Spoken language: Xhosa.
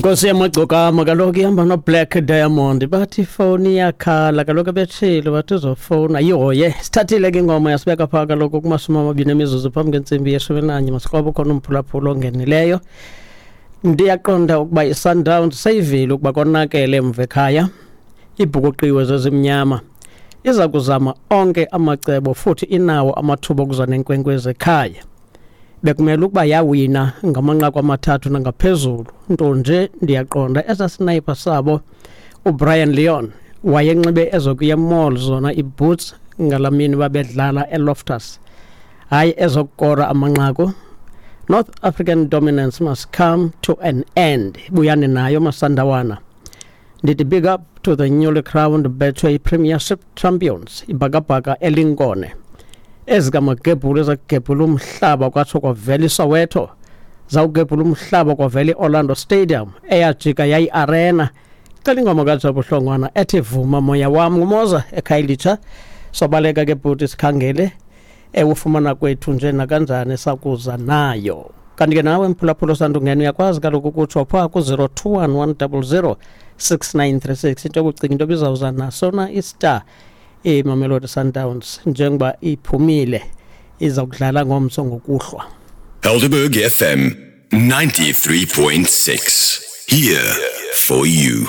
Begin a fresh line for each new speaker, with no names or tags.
Nkosi yamagcokama kaloku ihamba noBlack Diamond, bathi ifowuni iyakhala kaloku, ebetshilo bathi uzofowuna yihoye. Sithathile ke ingoma yasibeka phaa kaloku kuma-20 emizuzu phambi kwentsimbi ye-11. Masikroba ukhona umphulaphula ongenileyo. Ndiyaqonda ukuba iSundowns seyivile ukuba konakele emva ekhaya, ibhukuqiwe zezimnyama, iza kuzama onke amacebo futhi inawo amathuba okuza nenkwenkwezi ekhaya. Bekumele ukuba yawina ngamanqaku 3 nangaphezulu, nto nje ndiyaqonda esa sniper sabo uBrian Leon wayenxibe ezokuya mall zona iboots ngalamini babedlala eLoftus, hayi ezokukora amanqaku. North African dominance must come to an end. Buyani nayo Masandawana. Ndithi big up to the newly crowned Betway Premiership champions, ibhakabhaka elinkone ezikamagebhulu ezakugebhula umhlaba kwatsho kwavela iSoweto, zawugebhula umhlaba kwavela i-Orlando Stadium eyajika yayi-arena. Cela ingoma kaJabu Hlongwana ethi Vuma Moya Wam. Ngumoza eKhayelitsha. Sobaleka ke bhuti, sikhangele ewufumana kwethu nje nakanjani sakuza nayo. Kanti ke nawe mphulaphula osandungena uyakwazi kaloku ukutsho phaa ku-021 100 6936 into yokucinga into bizawuza naso na istar iMamelodi Sundowns njengoba iphumile iza kudlala ngomso ngokuhlwa.
Helderberg FM 93.6. Here for you.